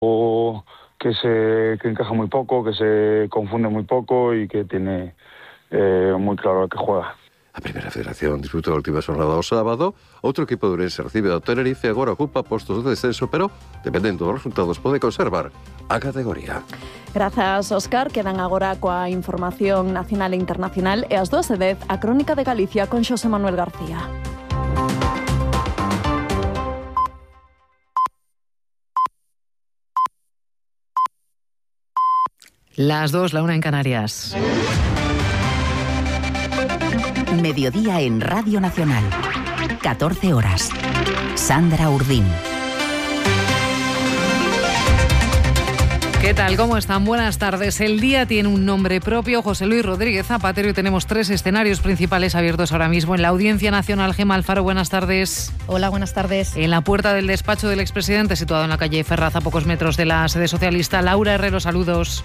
que encaja muy poco, que se confunde muy poco y que tiene muy claro a qué juega. A Primeira Federación disputou a última xornada o sábado. Outro equipo de Ourense recibe ao Tenerife e agora ocupa postos de descenso, pero, dependendo dos resultados, pode conservar a categoría. Grazas, Óscar. Quedan agora coa información nacional e internacional e ás 12:10 a Crónica de Galicia con Xosé Manuel García. Las 2, la 1 en Canarias. Mediodía en Radio Nacional. 14 horas. Sandra Urdín. ¿Qué tal? ¿Cómo están? Buenas tardes. El día tiene un nombre propio, José Luis Rodríguez Zapatero, y tenemos 3 escenarios principales abiertos ahora mismo en la Audiencia Nacional. Gemma Alfaro, buenas tardes. Hola, buenas tardes. En la puerta del despacho del expresidente, situado en la calle Ferraz, a pocos metros de la sede socialista, Laura Herrero, saludos.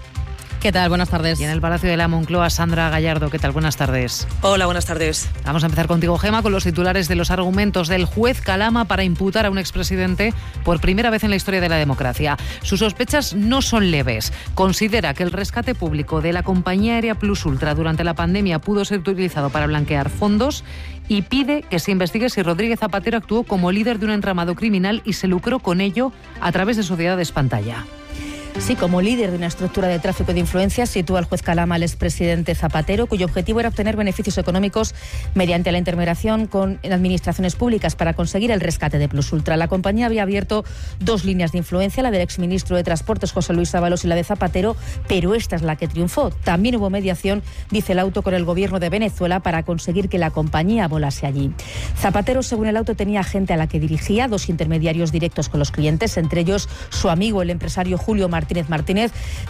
¿Qué tal? Buenas tardes. Y en el Palacio de la Moncloa, Sandra Gallardo. ¿Qué tal? Buenas tardes. Hola, buenas tardes. Vamos a empezar contigo, Gema, con los titulares de los argumentos del juez Calama para imputar a un expresidente por primera vez en la historia de la democracia. Sus sospechas no son leves. Considera que el rescate público de la compañía aérea Plus Ultra durante la pandemia pudo ser utilizado para blanquear fondos y pide que se investigue si Rodríguez Zapatero actuó como líder de un entramado criminal y se lucró con ello a través de sociedades pantalla. Sí, como líder de una estructura de tráfico de influencias, sitúa el juez Calama al expresidente Zapatero, cuyo objetivo era obtener beneficios económicos mediante la intermediación con administraciones públicas para conseguir el rescate de Plus Ultra. La compañía había abierto 2 líneas de influencia, la del exministro de Transportes José Luis Ábalos y la de Zapatero, pero esta es la que triunfó. También hubo mediación, dice el auto, con el gobierno de Venezuela para conseguir que la compañía volase allí. Zapatero, según el auto, tenía gente a la que dirigía, 2 intermediarios directos con los clientes, entre ellos su amigo, el empresario Julio Martínez.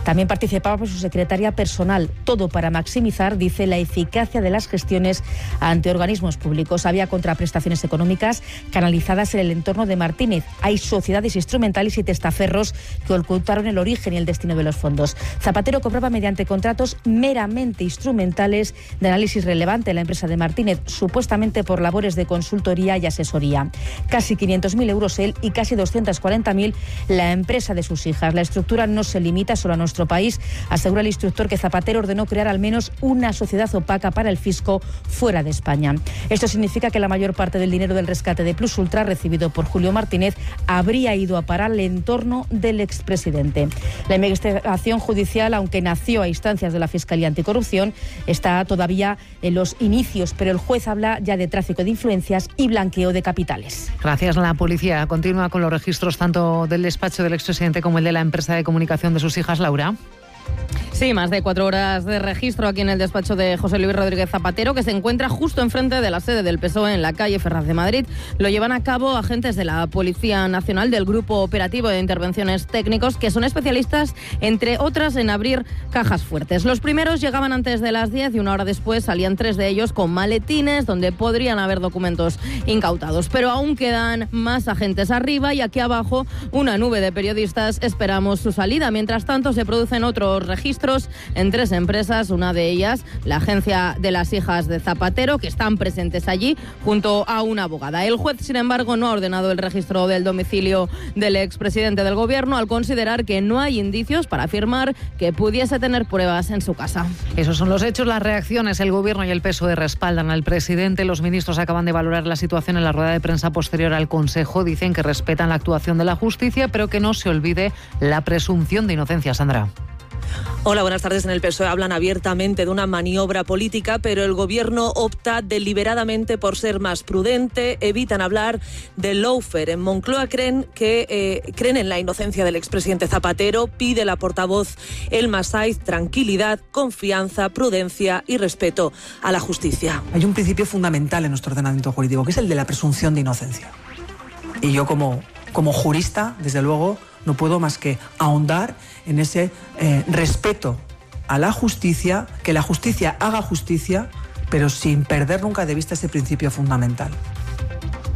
También participaba por su secretaria personal, todo para maximizar, dice, la eficacia de las gestiones ante organismos públicos. Había contraprestaciones económicas canalizadas en el entorno de Martínez. Hay sociedades instrumentales y testaferros que ocultaron el origen y el destino de los fondos. Zapatero cobraba mediante contratos meramente instrumentales de análisis relevante en la empresa de Martínez, supuestamente por labores de consultoría y asesoría. Casi 500.000 euros él y casi 240.000 la empresa de sus hijas. La estructura no se limita solo a nuestro país. Asegura el instructor que Zapatero ordenó crear al menos una sociedad opaca para el fisco fuera de España. Esto significa que la mayor parte del dinero del rescate de Plus Ultra recibido por Julio Martínez habría ido a parar al entorno del expresidente. La investigación judicial, aunque nació a instancias de la Fiscalía Anticorrupción, está todavía en los inicios, pero el juez habla ya de tráfico de influencias y blanqueo de capitales. Gracias. La policía continúa con los registros tanto del despacho del expresidente como el de la empresa de comunicación de sus hijas, Laura. Sí, más de 4 horas de registro aquí en el despacho de José Luis Rodríguez Zapatero, que se encuentra justo enfrente de la sede del PSOE en la calle Ferraz de Madrid. Lo llevan a cabo agentes de la Policía Nacional del Grupo Operativo de Intervenciones Técnicos, que son especialistas, entre otras, en abrir cajas fuertes. Los primeros llegaban antes de las 10 y 1 hora después salían 3 de ellos con maletines donde podrían haber documentos incautados. Pero aún quedan más agentes arriba y aquí abajo una nube de periodistas esperamos su salida. Mientras tanto, se producen otros registros en 3 empresas, una de ellas la agencia de las hijas de Zapatero, que están presentes allí junto a una abogada. El juez, sin embargo, no ha ordenado el registro del domicilio del expresidente del gobierno al considerar que no hay indicios para afirmar que pudiese tener pruebas en su casa. Esos son los hechos, las reacciones. El gobierno y el PSOE respaldan al presidente. Los ministros acaban de valorar la situación en la rueda de prensa posterior al Consejo. Dicen que respetan la actuación de la justicia, pero que no se olvide la presunción de inocencia. Sandra. Hola, buenas tardes. En el PSOE hablan abiertamente de una maniobra política, pero el gobierno opta deliberadamente por ser más prudente, evitan hablar del lawfare. En Moncloa creen en la inocencia del expresidente Zapatero, pide la portavoz Elma Saiz tranquilidad, confianza, prudencia y respeto a la justicia. Hay un principio fundamental en nuestro ordenamiento jurídico, que es el de la presunción de inocencia. Y yo como jurista, desde luego, no puedo más que ahondar en ese respeto a la justicia, que la justicia haga justicia, pero sin perder nunca de vista ese principio fundamental.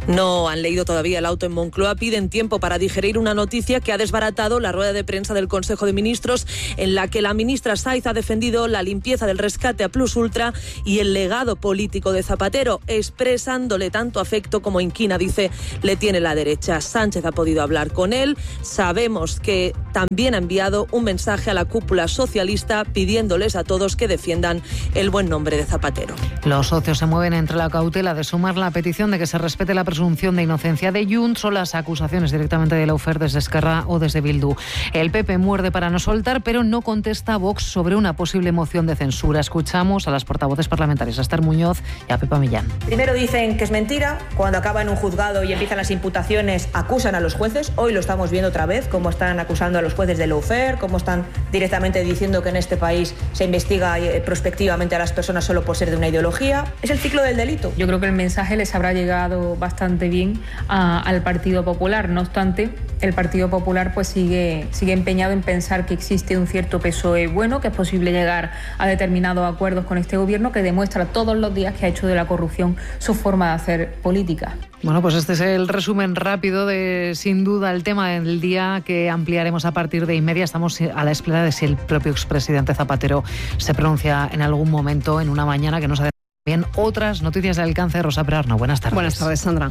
No han leído todavía el auto en Moncloa, piden tiempo para digerir una noticia que ha desbaratado la rueda de prensa del Consejo de Ministros, en la que la ministra Saiz ha defendido la limpieza del rescate a Plus Ultra y el legado político de Zapatero, expresándole tanto afecto como inquina, dice, le tiene la derecha. Sánchez ha podido hablar con él. Sabemos que también ha enviado un mensaje a la cúpula socialista pidiéndoles a todos que defiendan el buen nombre de Zapatero. Los socios se mueven entre la cautela de sumar la petición de que se respete la presunción de inocencia de Junts o las acusaciones directamente de Lawfare desde Esquerra o desde Bildu. El PP muerde para no soltar, pero no contesta a Vox sobre una posible moción de censura. Escuchamos a las portavoces parlamentarias, a Esther Muñoz y a Pepa Millán. Primero dicen que es mentira, cuando acaba en un juzgado y empiezan las imputaciones acusan a los jueces. Hoy lo estamos viendo otra vez, cómo están acusando a los jueces de Lawfare, cómo están directamente diciendo que en este país se investiga prospectivamente a las personas solo por ser de una ideología. Es el ciclo del delito. Yo creo que el mensaje les habrá llegado bastante bien al Partido Popular. No obstante, el Partido Popular pues sigue empeñado en pensar que existe un cierto PSOE bueno, que es posible llegar a determinados acuerdos con este gobierno, que demuestra todos los días que ha hecho de la corrupción su forma de hacer política. Bueno, pues este es el resumen rápido de, sin duda, el tema del día, que ampliaremos a partir de inmedia. Estamos a la espera de si el propio expresidente Zapatero se pronuncia en algún momento, en una mañana que nos ha bien. Otras noticias de alcance, Rosa Perarno. Buenas tardes. Buenas tardes, Sandra.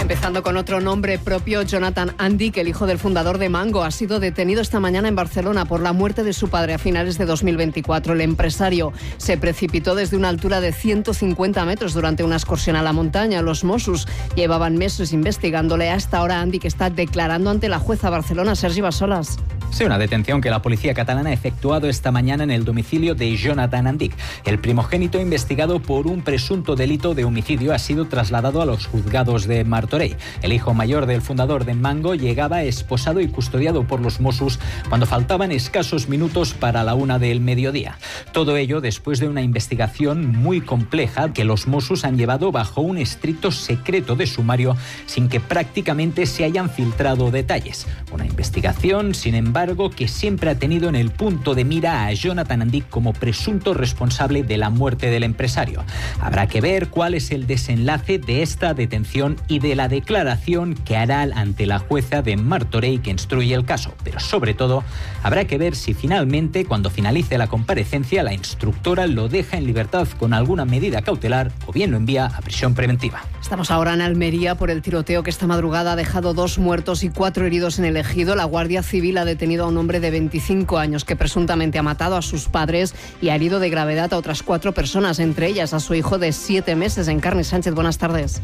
Empezando con otro nombre propio, Jonathan Andic, el hijo del fundador de Mango, ha sido detenido esta mañana en Barcelona por la muerte de su padre a finales de 2024. El empresario se precipitó desde una altura de 150 metros durante una excursión a la montaña. Los Mossos llevaban meses investigándole. Hasta ahora Andic está declarando ante la jueza Barcelona, Sergi Bassolas. Sí, una detención que la policía catalana ha efectuado esta mañana en el domicilio de Jonathan Andic. El primogénito, investigado por un presunto delito de homicidio, ha sido trasladado a los juzgados de Martorell. El hijo mayor del fundador de Mango llegaba esposado y custodiado por los Mossos cuando faltaban escasos minutos para la 1 del mediodía. Todo ello después de una investigación muy compleja que los Mossos han llevado bajo un estricto secreto de sumario, sin que prácticamente se hayan filtrado detalles. Una investigación, sin embargo, que siempre ha tenido en el punto de mira a Jonathan Andic como presunto responsable de la muerte del empresario. Habrá que ver cuál es el desenlace de esta detención y de la declaración que hará ante la jueza de Martorell que instruye el caso. Pero sobre todo, habrá que ver si finalmente, cuando finalice la comparecencia, la instructora lo deja en libertad con alguna medida cautelar o bien lo envía a prisión preventiva. Estamos ahora en Almería por el tiroteo que esta madrugada ha dejado 2 muertos y 4 heridos en el Ejido. La Guardia Civil ha detenido a un hombre de 25 años que presuntamente ha matado a sus padres y ha herido de gravedad a otras 4 personas, entre ellas a su hijo de 7 meses. Encarni Sánchez, buenas tardes.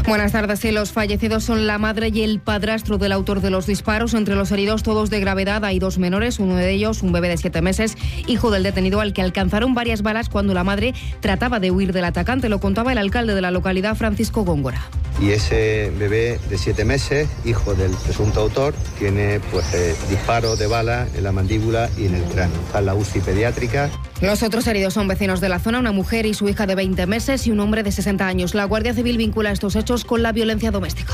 Buenas tardes. Sí, los fallecidos son la madre y el padrastro del autor de los disparos. Entre los heridos, todos de gravedad, hay 2 menores, uno de ellos un bebé de 7 meses, hijo del detenido, al que alcanzaron varias balas cuando la madre trataba de huir del atacante. Lo contaba el alcalde de la localidad, Francisco Góngora. Y ese bebé de 7 meses, hijo del presunto autor, tiene disparos de bala en la mandíbula y en el cráneo. Está en la UCI pediátrica. Los otros heridos son vecinos de la zona, una mujer y su hija de 20 meses y un hombre de 60 años. La Guardia Civil vincula estos hechos con la violencia doméstica.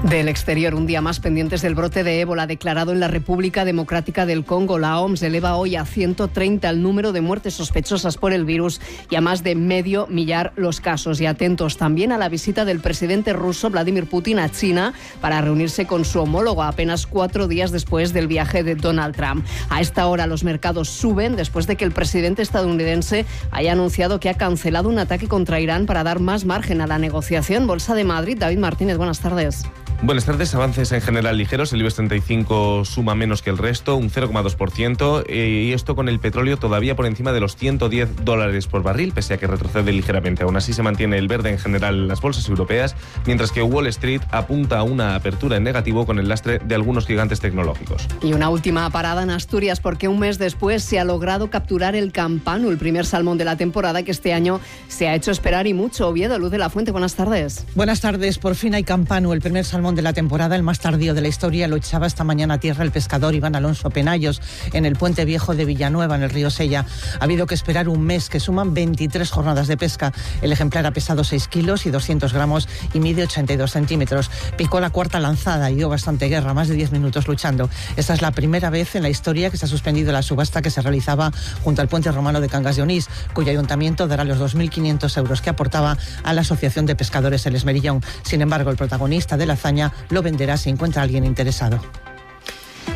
Del exterior, un día más pendientes del brote de ébola declarado en la República Democrática del Congo. La OMS eleva hoy a 130 el número de muertes sospechosas por el virus y a más de 500.000 los casos. Y atentos también a la visita del presidente ruso Vladimir Putin a China para reunirse con su homólogo apenas 4 días después del viaje de Donald Trump. A esta hora los mercados suben después de que el presidente estadounidense haya anunciado que ha cancelado un ataque contra Irán para dar más margen a la negociación. Bolsa de Madrid, David Martínez, buenas tardes. Buenas tardes. Avances en general ligeros. El IBEX 35 suma menos que el resto, un 0,2%, y esto con el petróleo todavía por encima de los $110 por barril, pese a que retrocede ligeramente. Aún así se mantiene el verde en general en las bolsas europeas, mientras que Wall Street apunta a una apertura en negativo con el lastre de algunos gigantes tecnológicos. Y una última parada en Asturias, porque un mes después se ha logrado capturar el campano, el primer salmón de la temporada, que este año se ha hecho esperar y mucho. Oviedo, Luz de la Fuente, buenas tardes. Buenas tardes. Por fin hay campano, el primer salmón salmón de la temporada, el más tardío de la historia, lo echaba esta mañana a tierra el pescador Iván Alonso Penallos en el Puente Viejo de Villanueva, en el río Sella. Ha habido que esperar un mes, que suman 23 jornadas de pesca. El ejemplar ha pesado 6 kilos y 200 gramos y mide 82 centímetros. Picó la cuarta lanzada y dio bastante guerra, más de 10 minutos luchando. Esta es la primera vez en la historia que se ha suspendido la subasta que se realizaba junto al puente romano de Cangas de Onís, cuyo ayuntamiento dará los 2.500 euros que aportaba a la Asociación de Pescadores El Esmerillón. Sin embargo, el protagonista de la hazaña lo venderá si encuentra a alguien interesado.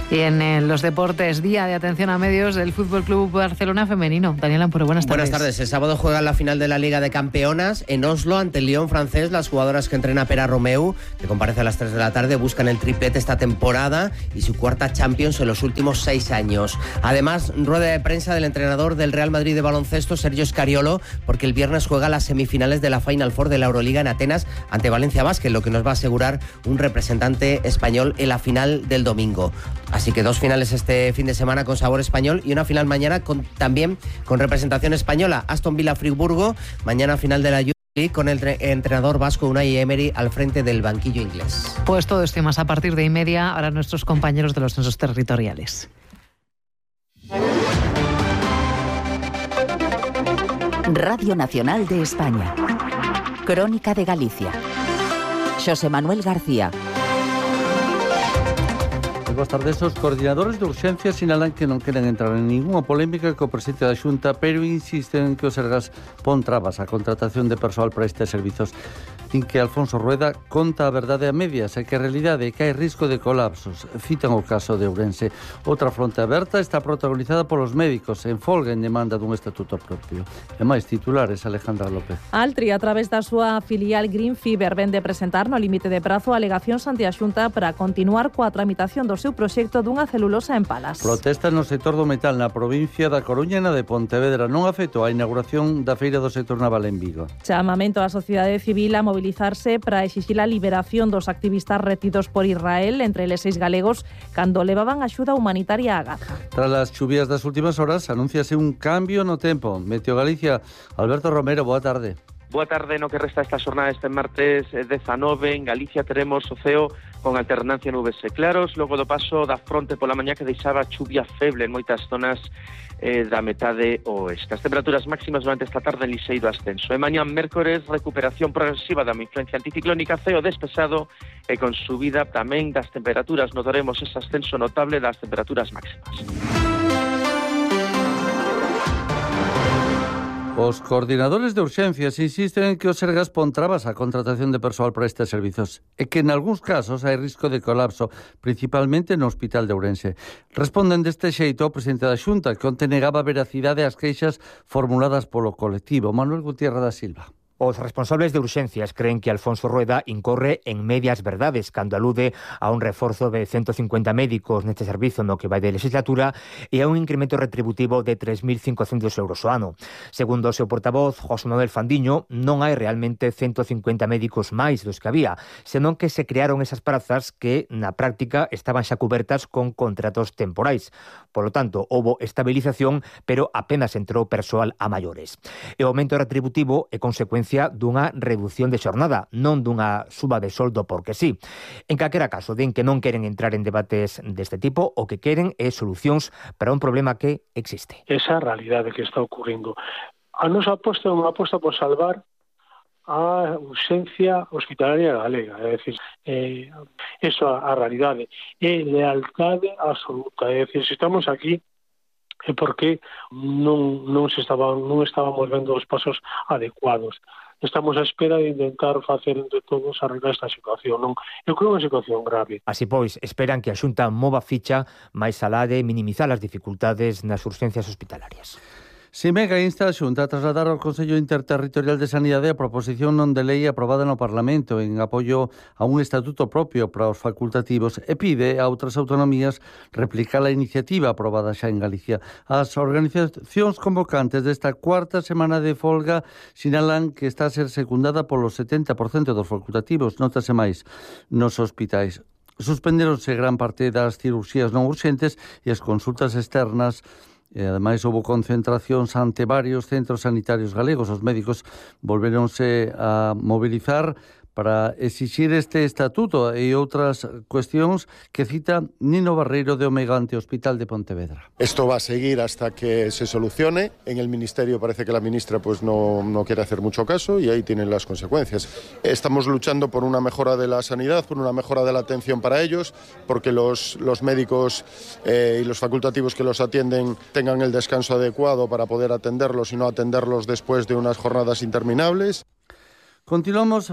Y en los deportes, día de atención a medios del Fútbol Club Barcelona femenino. Daniel Ampuro, buenas tardes. Buenas tardes. El sábado juegan la final de la Liga de Campeonas en Oslo ante el Lyon francés. Las jugadoras que entrena Pera Romeu, que comparece a las 3 de la tarde, buscan el triplete esta temporada y su cuarta Champions en los últimos 6 años. Además, rueda de prensa del entrenador del Real Madrid de baloncesto, Sergio Scariolo, porque el viernes juega las semifinales de la Final Four de la Euroliga en Atenas ante Valencia Basket, lo que nos va a asegurar un representante español en la final del domingo. Así que 2 finales este fin de semana con sabor español y una final mañana también con representación española. Aston Villa Friburgo, mañana final de la Youth League con el entrenador vasco Unai Emery al frente del banquillo inglés. Pues todo esto y más a partir de 1:30, ahora nuestros compañeros de los censos territoriales. Radio Nacional de España. Crónica de Galicia. Xosé Manuel García. Boas tardes. Os coordinadores de urxencia sinalan que non queren entrar en ninguna polémica co presidente da Xunta, pero insisten en que o Sergas pon trabas á contratación de persoal para estes servizos. Din que Alfonso Rueda conta a verdade a medias e que a realidade é que hai risco de colapsos. Citan o caso de Ourense. Outra fronte aberta está protagonizada polos médicos en folga en demanda dun estatuto propio. E máis titulares, Alejandra López. Altri, a través da súa filial Green Fiber, vende presentar no límite de prazo alegacións ante a Xunta para continuar coa tramitación do seu proxecto dunha celulosa en Palas. Protesta no sector do metal na provincia da Coruña e na de Pontevedra. Non afectou a inauguración da feira do sector naval en Vigo. Chamamento á sociedade civil a mobilizarse para exixir a liberación dos activistas retidos por Israel, entre eles 6 galegos, cando levaban axuda humanitaria a Gaza. Tras as chuvías das últimas horas, anúnciase un cambio no tempo. Meteo Galicia, Alberto Romero, boa tarde. Boa tarde, no que resta esta xornada este martes 19, en Galicia teremos o ceo con alternancia nubes e claros, logo do paso da fronte pola mañá que deixaba chuvia feble en moitas zonas da metade oeste. As temperaturas máximas durante esta tarde en lixeiro ascenso. E mañá mércores, recuperación progresiva da influencia anticiclónica, ceo despexado e con subida tamén das temperaturas. Notaremos ese ascenso notable das temperaturas máximas. Os coordinadores de urxencias insisten en que o Sergas pon trabas á contratación de persoal para estes servizos e que en algúns casos hai risco de colapso, principalmente no Hospital de Ourense. Responden deste xeito ao presidente da Xunta, que onte negaba veracidade ás queixas formuladas polo colectivo. Manuel Gutiérrez da Silva. Os responsables de urxencias creen que Alfonso Rueda incorre en medias verdades cando alude a un reforzo de 150 médicos neste servizo no que vai de legislatura e a un incremento retributivo de 3.500 euros ao ano. Segundo o seu portavoz, José Manuel Fandiño, non hai realmente 150 médicos máis dos que había, senón que se crearon esas prazas que, na práctica, estaban xa cubertas con contratos temporais. Por lo tanto, houbo estabilización, pero apenas entrou persoal a maiores. E o aumento retributivo é consecuencia dunha reducción de xornada, non dunha suba de soldo porque sí. En calquera caso, din que non queren entrar en debates deste tipo, o que queren é solucións para un problema que existe. Esa realidade que está ocurrindo. A nosa aposta é unha aposta por salvar a urxencia hospitalaria galega, é dicir, eso a realidade, é lealtade absoluta, é dicir, se estamos aquí é porque non estábamos vendo os pasos adecuados. Estamos á espera de intentar facer entre todos arreglar esta situación. Non? Eu creo que é unha situación grave. Así pois, esperan que a Xunta mova ficha máis alá de minimizar as dificultades nas urxencias hospitalarias. Simega insta a Xunta a trasladar ao Consello Interterritorial de Sanidade a proposición non de lei aprobada no Parlamento en apoio a un estatuto propio para os facultativos e pide a outras autonomías replicar a iniciativa aprobada xa en Galicia. As organizacións convocantes desta cuarta semana de folga sinalan que está a ser secundada polo 70% dos facultativos, notase máis nos hospitais. Suspendéronse gran parte das cirurxías non urxentes e as consultas externas. E, ademais, houve concentracións ante varios centros sanitarios galegos. Os médicos volveronse a mobilizar para exixir este estatuto e outras cuestións que cita Nino Barreiro de Omegante Hospital de Pontevedra. Esto va a seguir hasta que se solucione. En el Ministerio parece que la ministra pues no quiere hacer mucho caso y ahí tienen las consecuencias. Estamos luchando por una mejora de la sanidad, por una mejora de la atención para ellos, porque los médicos y los facultativos que los atienden tengan el descanso adecuado para poder atenderlos y no atenderlos después de unas jornadas interminables.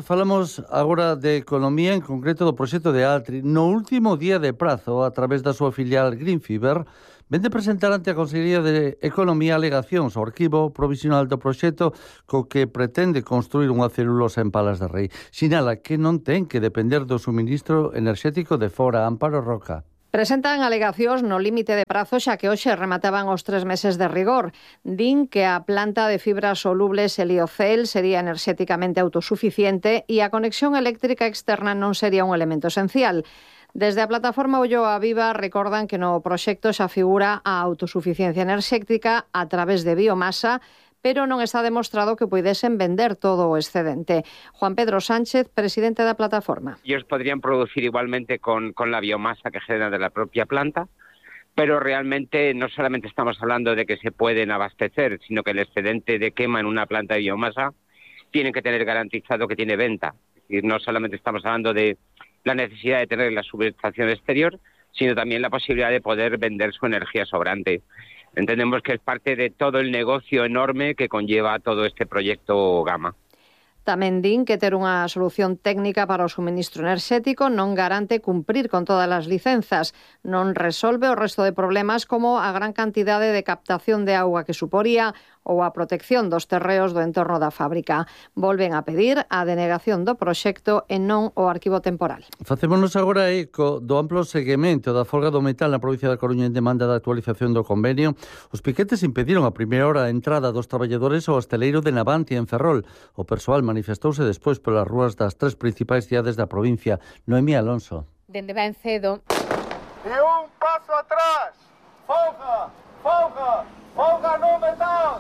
Falamos agora de economía, en concreto do proxecto de Altri. No último día de prazo, a través da súa filial Greenfiber, vende presentar ante a Consellería de Economía alegacións ao arquivo provisional do proxecto co que pretende construir unha celulosa en Palas de Rei. Sinala que non ten que depender do suministro enerxético de fora. Amparo Roca. Presentan alegacións no límite de prazo xa que hoxe remataban os 3 meses de rigor. Din que a planta de fibras solubles Heliocel sería enerxéticamente autosuficiente e a conexión eléctrica externa non sería un elemento esencial. Desde a plataforma Ulloa Viva recordan que no proxecto xa figura a autosuficiencia enerxética a través de biomasa, pero non está demostrado que puidesen vender todo o excedente. Juan Pedro Sánchez, presidente da plataforma. Ellos podrían producir igualmente con la biomasa que generan de la propia planta, pero realmente no solamente estamos hablando de que se pueden abastecer, sino que el excedente de quema en una planta de biomasa tienen que tener garantizado que tiene venta. Es decir, no solamente estamos hablando de la necesidad de tener la subestación exterior, sino también la posibilidad de poder vender su energía sobrante. Entendemos que es parte de todo el negocio enorme que conlleva todo este proyecto Gama. Tamén din que ter unha solución técnica para o suministro enerxético non garante cumprir con todas as licenzas, non resolve o resto de problemas como a gran cantidade de captación de auga que suporía ou a protección dos terreos do entorno da fábrica. Volven a pedir a denegación do proxecto e non o arquivo temporal. Facémonos agora eco do amplo seguimento da folga do metal na provincia da Coruña en demanda da actualización do convenio. Os piquetes impediron a primeira hora a entrada dos traballadores ao hosteleiro de Navantia en Ferrol. O persoal manifestouse despois polas rúas das 3 principais cidades da provincia. Noemí Alonso. Dende ben cedo. E un paso atrás. Folga, folga.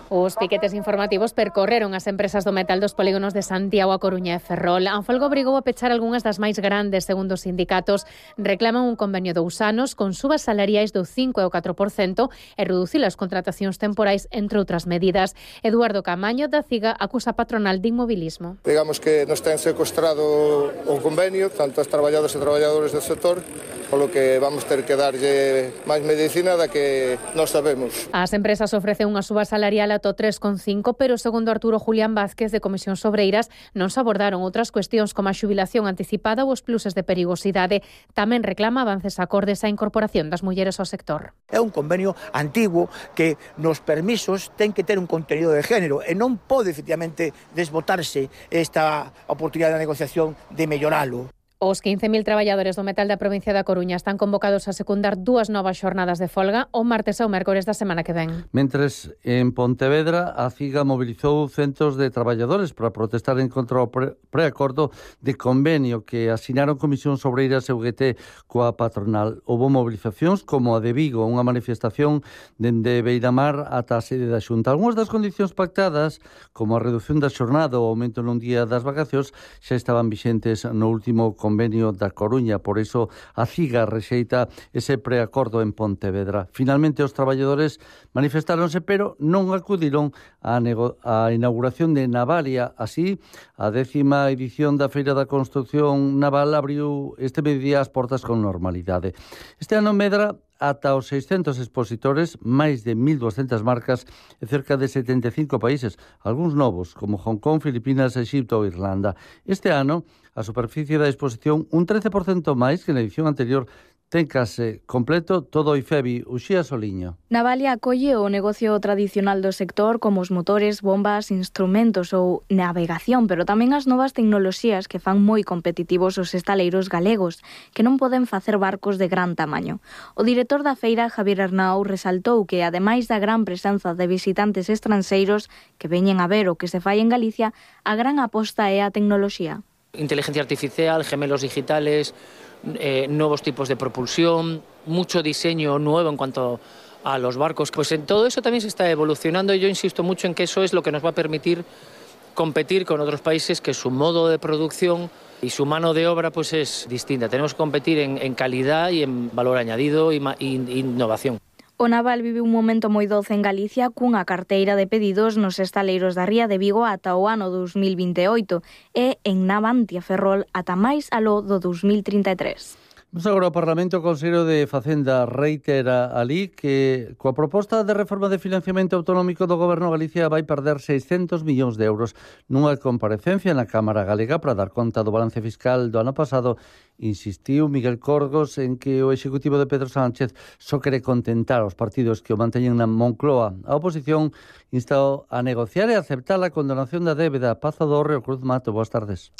Os piquetes informativos percorreron as empresas do metal dos polígonos de Santiago, A Coruña e Ferrol. A folga obrigou a pechar algunhas das máis grandes, segundo os sindicatos. Reclaman un convenio de 2 anos con subas salariais do 5 e o 4% e reducir as contratacións temporais, entre outras medidas. Eduardo Camaño, da CIGA, acusa a patronal de inmobilismo. Digamos que nos ten secuestrado un convenio, tanto as traballadoras e traballadores do sector, polo que vamos ter que darlle máis medicina da que nós sabemos. As empresas ofrecen unha suba salarial ata 3,5, pero segundo Arturo Julián Vázquez de Comisións Obreiras non se abordaron outras cuestións como a xubilación anticipada ou os pluses de perigosidade. Tamén reclama avances acordes á incorporación das mulleres ao sector. É un convenio antigo que nos permisos ten que ter un contenido de género e non pode efectivamente desbotarse esta oportunidade de negociación de melloralo. Os 15.000 traballadores do metal da provincia da Coruña están convocados a secundar 2 novas xornadas de folga o martes e o mércores da semana que ven. Mentres en Pontevedra a CIGA mobilizou centos de traballadores para protestar en contra o preacordo de convenio que asinaron Comisións Obreiras e UGT coa patronal. Houbo movilizacións como a de Vigo, unha manifestación dende Beiramar ata a sede da Xunta. Algúnas das condicións pactadas, como a reducción da xornada ou o aumento nun día das vacacións, xa estaban vixentes no último convenio da Coruña, por iso a CIGA rexeita ese preacordo en Pontevedra. Finalmente os traballadores manifestáronse, pero non acudiron á inauguración de Navalia. Así, a 10ª edición da Feira da Construcción Naval abriu este mediodía as portas con normalidade. Este ano medra ata os 600 expositores, máis de 1.200 marcas e cerca de 75 países, algúns novos, como Hong Kong, Filipinas, Exipto ou Irlanda. Este ano, a superficie da exposición un 13% máis que na edición anterior. Ten case completo todo o IFEBI. Uxía Soliño. Navalia acolle o negocio tradicional do sector como os motores, bombas, instrumentos ou navegación, pero tamén as novas tecnoloxías que fan moi competitivos os estaleiros galegos, que non poden facer barcos de gran tamaño. O director da feira, Javier Arnau, resaltou que, ademais da gran presenza de visitantes estranxeiros que veñen a ver o que se fai en Galicia, a gran aposta é a tecnoloxía. Inteligencia artificial, gemelos digitales, nuevos tipos de propulsión, mucho diseño nuevo en cuanto a los barcos. Pues en todo eso también se está evolucionando y yo insisto mucho en que eso es lo que nos va a permitir competir con otros países que su modo de producción y su mano de obra pues es distinta. Tenemos que competir en calidad y en valor añadido y innovación. O Naval vive un momento moi doce en Galicia cunha carteira de pedidos nos estaleiros da Ría de Vigo ata o ano 2028 e en Navantia Ferrol ata máis aló do 2033. Vamos agora ao Parlamento. O Consello de Facenda reitera alí que coa proposta de reforma de financiamento autonómico do Goberno, Galicia vai perder 600 millóns de euros. Nunha comparecencia na Cámara Galega para dar conta do balance fiscal do ano pasado, insistiu Miguel Corgos en que o executivo de Pedro Sánchez só quere contentar aos partidos que o manteñen na Moncloa. A oposición instou a negociar e aceptar a condonación da débeda. Pazo do Hórreo, Cruz Mato, boas tardes.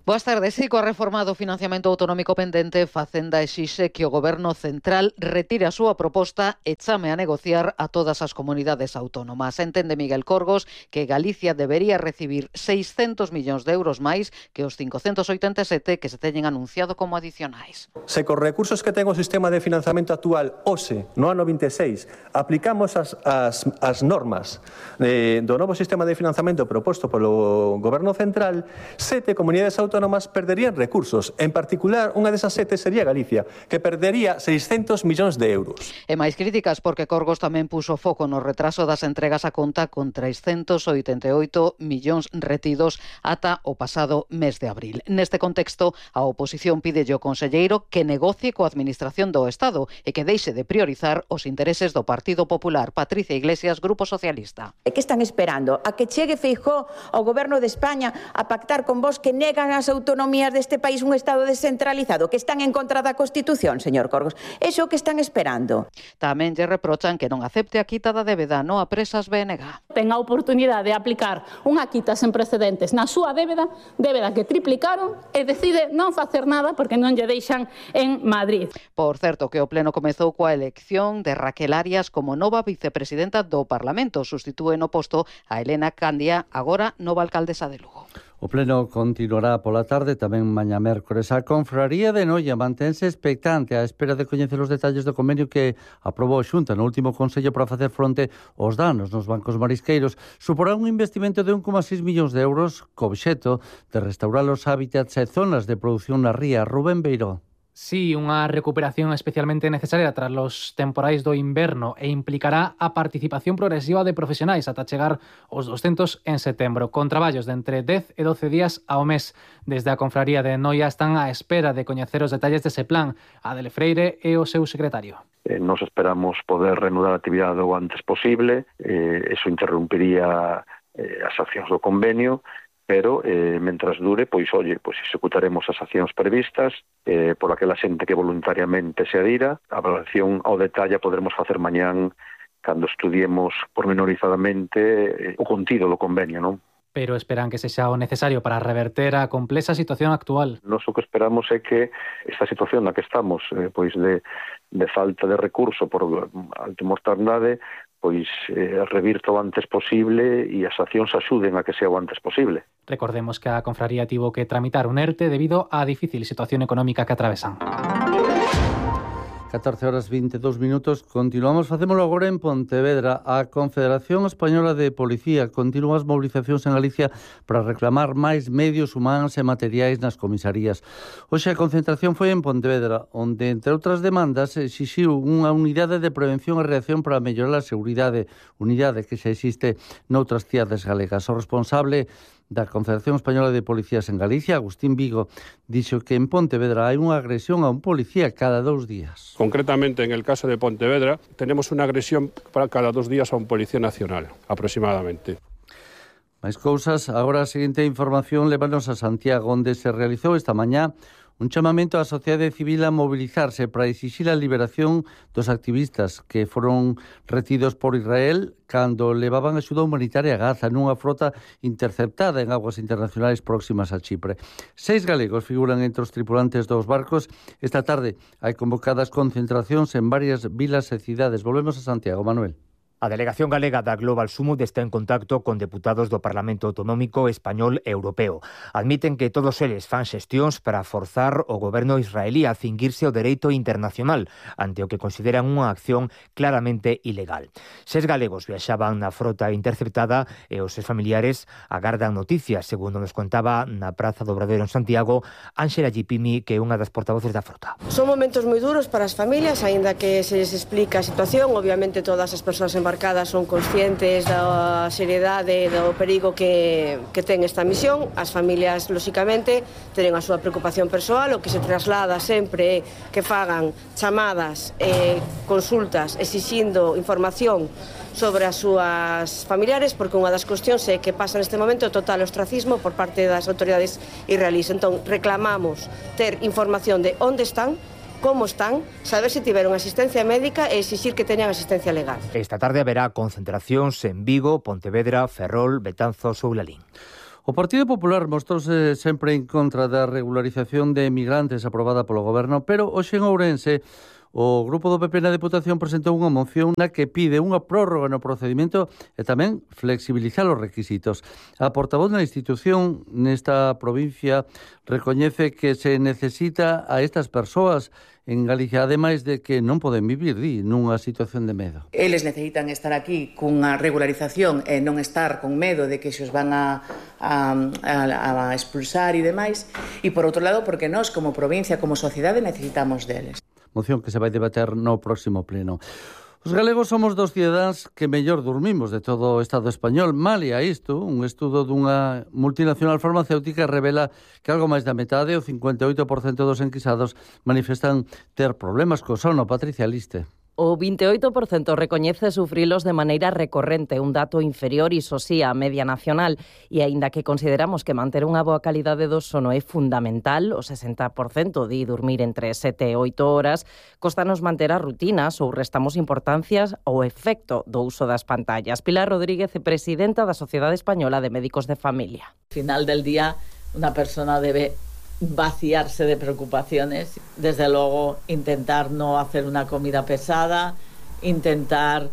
Boas tardes. Sí, coa reforma do financiamento autonómico pendente, Facenda exixe que o Goberno central retire a súa proposta e chame a negociar a todas as comunidades autónomas. Entende Miguel Corgos que Galicia debería recibir 600 millóns de euros máis que os 587 que se teñen anunciado como adicionais. Se cos recursos que ten o sistema de financiamento actual hoxe, no ano 26, aplicamos as normas do novo sistema de financiamento proposto polo Goberno central, 7 comunidades autónomas perderían recursos. En particular, unha desas 7 sería Galicia, que perdería 600 millóns de euros. E máis críticas porque Corgos tamén puso foco no retraso das entregas a conta con 388 millóns retidos ata o pasado mes de abril. Neste contexto, a oposición pídelle ao conselleiro que negocie coa Administración do Estado e que deixe de priorizar os intereses do Partido Popular. Patricia Iglesias, Grupo Socialista. E que están esperando? A que chegue Feijóo ao Goberno de España a pactar con vos que negan as autonomías deste país un Estado descentralizado, que están en contra da Constitución, señor Corgos? Iso que están esperando? Tamén lle reprochan que non acepte a quita da débeda no a presas BNG. Ten a oportunidade de aplicar unha quita sen precedentes na súa débeda que triplicaron, e decide non facer nada porque non lle deixan en Madrid. Por certo, que o Pleno comezou coa elección de Raquel Arias como nova vicepresidenta do Parlamento. Sustitúe no posto a Elena Candia, agora nova alcaldesa de Lugo. O Pleno continuará pola tarde, tamén mañá mércores. A Confraría de Noia mantense expectante á espera de coñecer os detalles do convenio que aprobou a Xunta no último Consello para facer fronte aos danos nos bancos marisqueiros. Suporá un investimento de 1,6 millóns de euros co obxecto de restaurar os hábitats e zonas de produción na ría. Rubén Beiró. Sí, unha recuperación especialmente necesaria tras los temporais do inverno e implicará a participación progresiva de profesionais ata chegar aos 200 en setembro, con traballos de entre 10 e 12 días ao mes. Desde a Confraría de Noia están á espera de coñecer os detalles dese plan. Adele Freire e o seu secretario. Nos esperamos poder reanudar a actividade o antes posible, eso interrumpiría as accións do convenio, pero mentras dure, pois executaremos as accións previstas por aquela xente que voluntariamente se adira. A evaluación ao detalle poderemos facer mañán cando estudiemos pormenorizadamente o contido do convenio, non? Pero esperan que sexa o necesario para reverter a complexa situación actual. Nos o que esperamos é que esta situación na que estamos, pois de falta de recurso por alta mortandade, pois revirta o antes posible e as accións axuden a que sea o antes posible. Recordemos que a Confraría tivo que tramitar un ERTE debido á difícil situación económica que atravesan. 14:22. Continuamos, facémolo agora en Pontevedra. A Confederación Española de Policía continúa as movilizacións en Galicia para reclamar máis medios humanos e materiais nas comisarías. Hoxe a concentración foi en Pontevedra, onde, entre outras demandas, exixiu unha unidade de prevención e reacción para mellorar a seguridade, unidade que xa existe noutras cidades galegas. O responsable da Confederación Española de Policías en Galicia, Agustín Vigo, dixo que en Pontevedra hai unha agresión a un policía cada 2 días. Concretamente, en el caso de Pontevedra, tenemos una agresión para cada 2 días a un policía nacional, aproximadamente. Máis cousas, agora a seguinte información lévanos a Santiago, onde se realizou esta mañá un chamamento á sociedade civil a mobilizarse para exixir a liberación dos activistas que foron retidos por Israel cando levaban axuda humanitaria a Gaza nunha frota interceptada en aguas internacionais próximas a Chipre. 6 galegos figuran entre os tripulantes dos barcos. Esta tarde hai convocadas concentracións en varias vilas e cidades. Volvemos a Santiago, Manuel. A delegación galega da Global Summit está en contacto con deputados do Parlamento Autonómico Español e Europeo. Admiten que todos eles fan xestións para forzar o goberno israelí a cinguirse o dereito internacional ante o que consideran unha acción claramente ilegal. 6 galegos viaxaban na frota interceptada e os seus familiares agardan noticias, segundo nos contaba na Praza do Obradoiro en Santiago Ángela Gipimi, que é unha das portavoces da frota. Son momentos moi duros para as familias, aínda que se les explica a situación. Obviamente todas as persoas embarcadas son conscientes da seriedade e do perigo que ten esta misión. As familias, lóxicamente, tenen a súa preocupación persoal, o que se traslada sempre que fagan chamadas e consultas exixindo información sobre as súas familiares, porque unha das cuestións é que pasa neste momento o total ostracismo por parte das autoridades israelíes. Entón, reclamamos ter información de onde están, como están, saber se tiveron asistencia médica e exixir que teñan asistencia legal. Esta tarde haberá concentracións en Vigo, Pontevedra, Ferrol, Betanzos ou Lalín. O Partido Popular mostrouse sempre en contra da regularización de emigrantes aprobada polo Goberno, pero hoxe en Ourense o grupo do PP na Deputación presentou unha moción na que pide unha prórroga no procedimento e tamén flexibilizar os requisitos. A portavoz da institución nesta provincia recoñece que se necesita a estas persoas en Galicia, ademais de que non poden vivir nunha situación de medo. Eles necesitan estar aquí cunha regularización e non estar con medo de que se os van a expulsar e demais. E por outro lado, porque nós como provincia, como sociedade, necesitamos deles. Moción que se vai debater no próximo pleno. Os galegos somos dos cidadáns que mellor dormimos de todo o Estado español. Malia isto, un estudo dunha multinacional farmacéutica revela que algo máis da metade, o 58% dos enquisados, manifestan ter problemas co sono. Patricia Liste. O 28% recoñece sufrilos de maneira recorrente, un dato inferior, iso sí, á media nacional. E aínda que consideramos que manter unha boa calidade do sono é fundamental, o 60% di dormir entre 7 e 8 horas, costanos manter as rutinas ou restamos importancias ao efecto do uso das pantallas. Pilar Rodríguez, presidenta da Sociedade Española de Médicos de Familia. Al final del día, una persona debe vaciarse de preocupaciones, desde luego intentar no hacer una comida pesada, intentar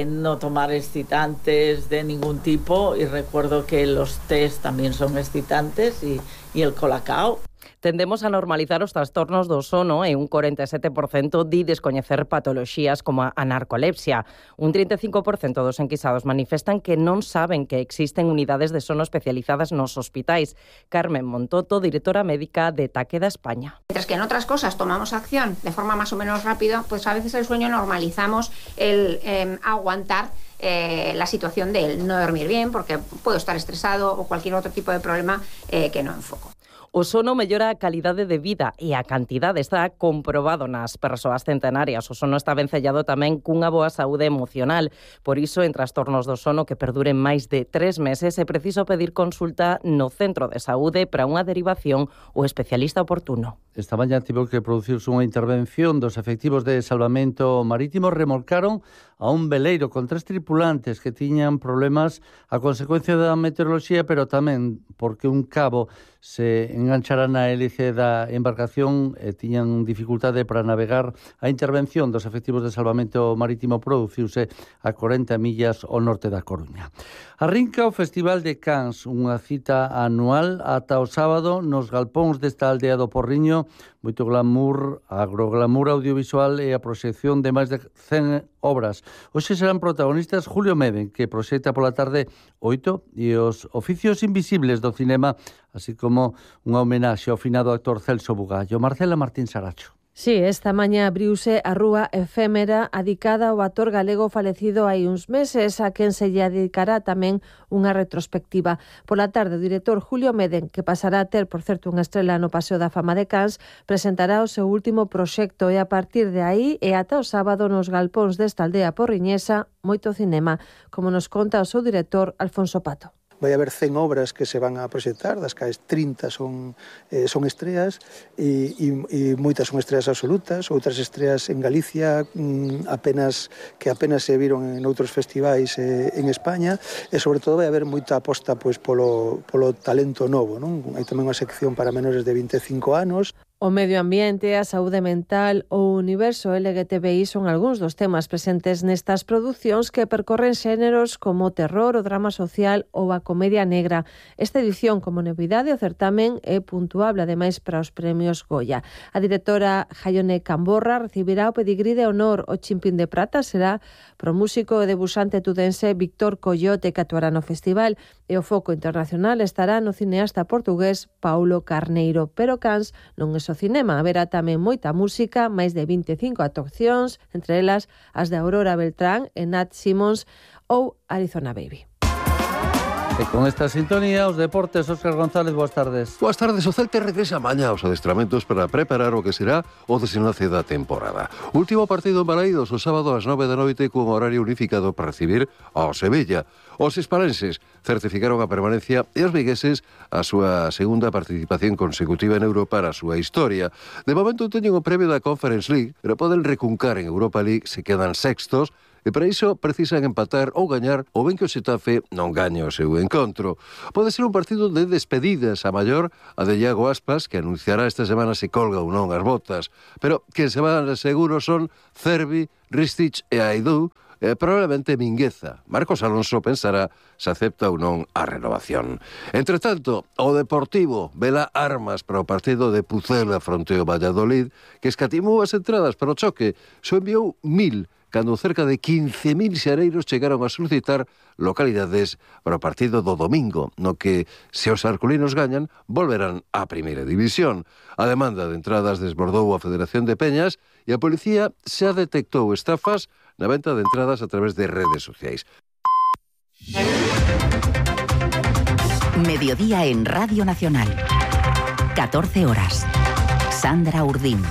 no tomar excitantes de ningún tipo, y recuerdo que los tés también son excitantes y el colacao. Tendemos a normalizar os trastornos do sono e un 47% di descoñecer patoloxías como a narcolepsia. Un 35% dos enquisados manifestan que non saben que existen unidades de sono especializadas nos hospitais. Carmen Montoto, directora médica de Takeda España. Mientras que en otras cosas tomamos acción de forma más o menos rápida, pues a veces el sueño normalizamos el aguantar la situación de el no dormir bien, porque puedo estar estresado o cualquier otro tipo de problema que no enfoco. O sono mellora a calidade de vida e a cantidade está comprobado nas persoas centenarias. O sono está vencellado tamén cunha boa saúde emocional. Por iso, en trastornos do sono que perduren máis de 3 meses, é preciso pedir consulta no centro de saúde para unha derivación ou especialista oportuno. Esta mañá tivo que producirse unha intervención dos efectivos de salvamento marítimo. Remolcaron a un veleiro con 3 tripulantes que tiñan problemas a consecuencia da meteoroloxía, pero tamén porque un cabo se enganchara na hélice da embarcación e tiñan dificultade para navegar. A intervención dos efectivos de salvamento marítimo produciuse a 40 millas ao norte da Coruña. Arrinca o Festival de Cans, unha cita anual ata o sábado nos galpóns desta aldea do Porriño. Moito glamour, agroglamour audiovisual e a proxección de máis de 100 obras. Hoxe serán protagonistas Julio Meden, que proxecta pola tarde 8, e os oficios invisibles do cinema, así como unha homenaxe ao finado actor Celso Bugallo. Marcela Martín Saracho. Sí, esta mañá abriuse a rúa efémera adicada ao actor galego falecido hai uns meses, a quen se lle dedicará tamén unha retrospectiva. Pola tarde, o director Julio Meden, que pasará a ter, por certo, unha estrela no Paseo da Fama de Cans, presentará o seu último proxecto e a partir de aí e ata o sábado nos galpóns desta aldea porriñesa, moito cinema, como nos conta o seu director Alfonso Pato. Vai haber 100 obras que se van a proxectar, das cales 30 son estreas e moitas son estreas absolutas, outras estreas en Galicia apenas se viron en outros festivais en España, e sobre todo vai haber moita aposta pois polo talento novo, non? Hai tamén unha sección para menores de 25 anos. O medio ambiente, a saúde mental ou o universo LGTBI son algúns dos temas presentes nestas producións que percorren xéneros como o terror, o drama social ou a comedia negra. Esta edición, como novidade, o certamen é puntuable, ademais, para os premios Goya. A directora Jaione Camborra recibirá o pedigrí de honor. O Chimpín de Prata será pro músico e debuxante tudense Víctor Coyote, que actuará no festival, e o foco internacional estará no cineasta portugués Paulo Carneiro. Pero Cans non é o cinema, haberá tamén moita música, máis de 25 actuacións, entre elas as de Aurora Beltrán e Nat Simmons ou Arizona Baby. E con esta sintonía, os deportes, Óscar González, boas tardes. Boas tardes, o Celta regresa mañá aos adestramentos para preparar o que será o desenlace da temporada. Último partido en Balaídos o sábado ás 9 da noite cun horario unificado para recibir ao Sevilla. Os hispalenses certificaron a permanencia e os vigueses a súa segunda participación consecutiva en Europa para a súa historia. De momento teñen o premio da Conference League, pero poden recuncar en Europa League se quedan sextos, e para iso precisan empatar ou gañar ou ben que o Xetafe non gañe o seu encontro. Pode ser un partido de despedidas a maior a de Iago Aspas, que anunciará esta semana se colga ou non as botas. Pero quen se van seguro son Cervi, Ristich e Aidú, probablemente Mingueza. Marcos Alonso pensará se acepta ou non a renovación. Entre tanto, o Deportivo vela armas para o partido de Pucela fronte ao Valladolid, que escatimou as entradas para o choque, só enviou 1000, cando cerca de 15.000 xareiros chegaron a solicitar localidades para o partido do domingo, no que, se os arculinos gañan, volverán á primeira división. A demanda de entradas desbordou a Federación de Peñas e a policía xa detectou estafas na venta de entradas a través de redes sociais. Mediodía en Radio Nacional. 14 horas. Sandra Urdín.